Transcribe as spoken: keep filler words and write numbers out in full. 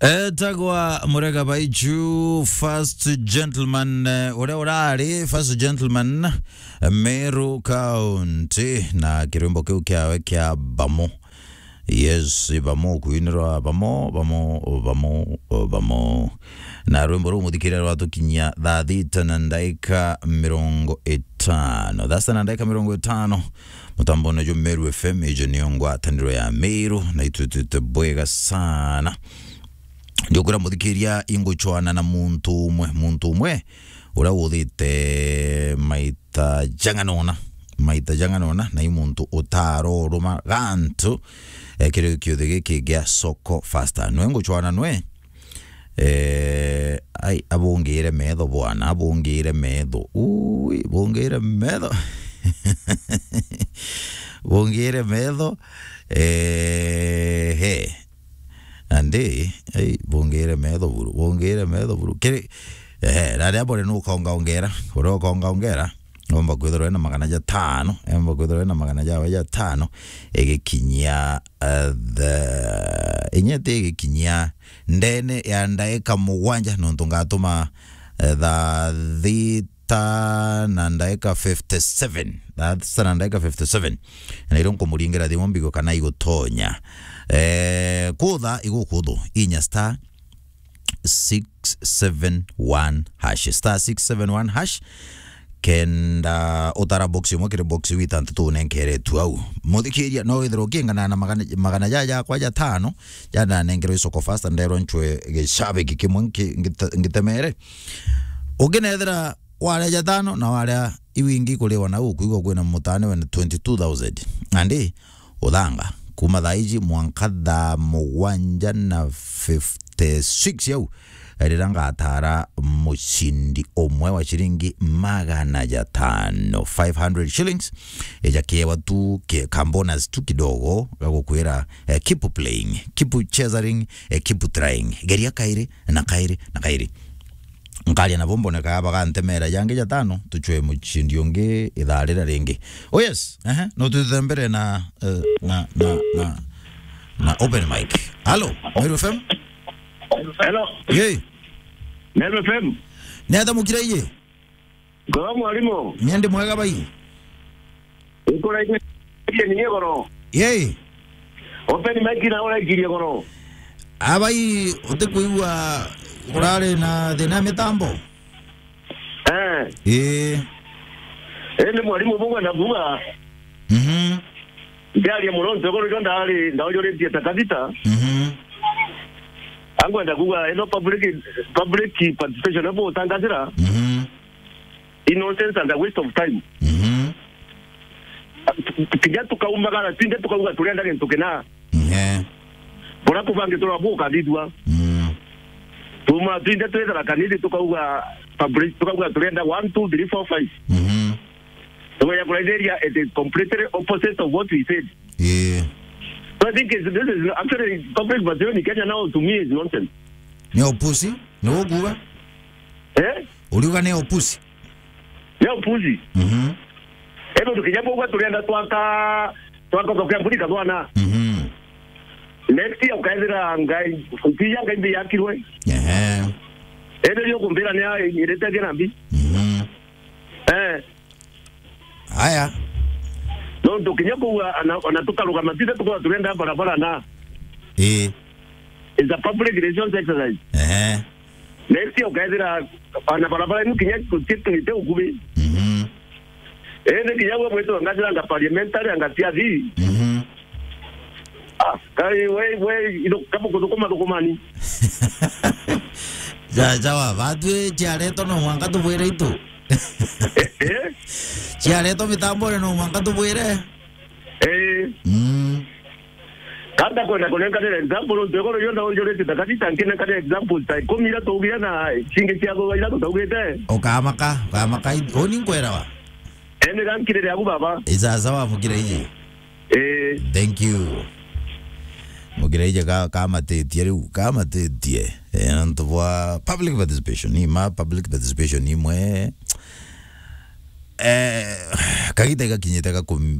Etagwa Murega Baiju, first gentleman, eh, uria urari first gentleman, eh, Meru County, na kirwimbo kiu kiawe kia Bamo. Yes, Bamo, kuinirwa Bamo, Bamo, Bamo, Bamo. Na rwimbo ruu muthikiria rwatukinyia thaa thita na ndaika mirongo itano. Thaa sita na ndaika mirongo itano. Mutambone jwa Meru F M, ijo niyo ngwataniro ya Meru, na itwitwite bwega sana. Ndiukwira muthikiria, inguchwana na muntu umwe, muntu umwe uria uthite maita jang'anona, maita jang'anona, na i muntu utaroruma gantu, eh, kiri kiuthi giki gia Soko Fasta. Nwe nguchwana nwe, Eh, ai, abungire metho bwana, abungire metho. Ui, bungire metho. Bungire metho. Eh, he. Andi, ai, bungire metho buru, bungire metho buru. Kiri, eh, raria bore nukonga ongera, uria ukonga ongera. Omba kwithirwa ena magana jatano, omba kwithirwa ena magana jawe jatano, igikinyia, eh, the, inyete igikinyia ndene ya ndaika mugwanja, nontu ngatuma, eh, thaa thita na ndaika fifty seven, thaa thita na ndaika fifty seven, na irio nkumuringira thimu mbigo kana igutonya. Eh, kutha igukuthu, inya star six seven one hash, star six seven one hash, kenda utara box imwe kiri box iu itantatu unenkeretue au. Muthikiria, no withirwa ukingana na magana, magana ja jakwa jatano, ja ndanengerwe i Soko Fasta, nderwa ncwe gicabiki kimwe nki-, ngite-, ngitemere. Ukinethira waria jatano na waria iu ingi kuriwa na ukwigua kwina mutane wena twenty two thousand. Andi, uthanga kuma thaa iji mwanka thaa mugwanja na fifty six yau, rira ngatara mucindi umwe wa ciringi magana jatano, five hundred shillings, eja kiewa tu ke-, ka bonus tu kidogo, gagukwira, eh, keep playing, keep cheering, eh, keep trying. Geria kairi na kairi na kairi. Nkaria nabo mboneka bagantemera jangi jatano, tuchwe muchindi ungi ithaa rira ringi. Oh yes, ehe, no tutembere na, eh, na, na, na, na open mic. Halo, Meru F M? Hello. Yei. Meru F M. Ni ata mukira iye? Ngoro mwarimu. Ni ndi mwega bai. Ikuraithia ni goro. Yei. Open mic na uraikirie goro. Abai, utikwigua urari na thina ya mitambo? Eh. Ii. Ii ni mwarimu bungwe na kuuga. Mhm. Ndiaria muno ntegoro jo ndari, ndaujuritie ta kabisa. Mhm. Angwenda kuuga, ino public, public participation abo utangathira. Mhm. I nonsense and a waste of time. Mhm. Kinya tukaumagara twinthe tukauga turenda gintu kina. Mhm. Bora kubangi tura bukathithua. Mhm. Tuma twinthe twithira kanithe tukauga public, tukauga turenda one, two, three, four, five. Mhm. Tugeja kuraithiria, it is completely opposite of what we said. Yeah. So I think it's, this is actually public participation in Kenya now to me is nonsense. Ni upuzi? Ni ukuga? Eh? Uriuga ni upuzi? Ni upuzi. Mhm. Ego tukinya kuuga turenda twaka, twaka thoko ya mburi kathwana. Mhm. Next year ukaethira ngai, utiya ngai mbi yakirwe. Ehe. Ende rio kumbira ni irite thina mbi. Mhm. Eh. Aya. No tukinya kuuga ana, ona tukarugama tithe tukorwa turenda barabara na. Ii. It's a public relations exercise. Ehe. Next year ukaethira ana barabara inu kinya tutitwite ukubi. Mhm. Indi kinya gwe mwitwa ngathira anga parliamentary anga siathi. Mhm. Ah, kai we, we, ino, kama kuthukuma thukumani. Ja, jawa, batwi ciaretwo no mwanka tubwire itu. Eh, eh. Ciaretwo mitambone no mwanka tubwire. Eh. Mm. Kanda kwenda kunenkanira example, nontu igoro yonda onjurite takatita nkinenkanira example ta ikumi ira tuugire na cingi cia thutha ira tutaugite. Ukamaka, ukamaka, i-, uni nkwerawa. Eni gankirire agu baba. Isasawa mukire iji. Eh. Thank you. Mukire iji ka-, kamatitie riu, kamatitie. Eh, nontu bwa public participation, ni ma public participation imwe. Eh, kagita igakinyite ga kum-,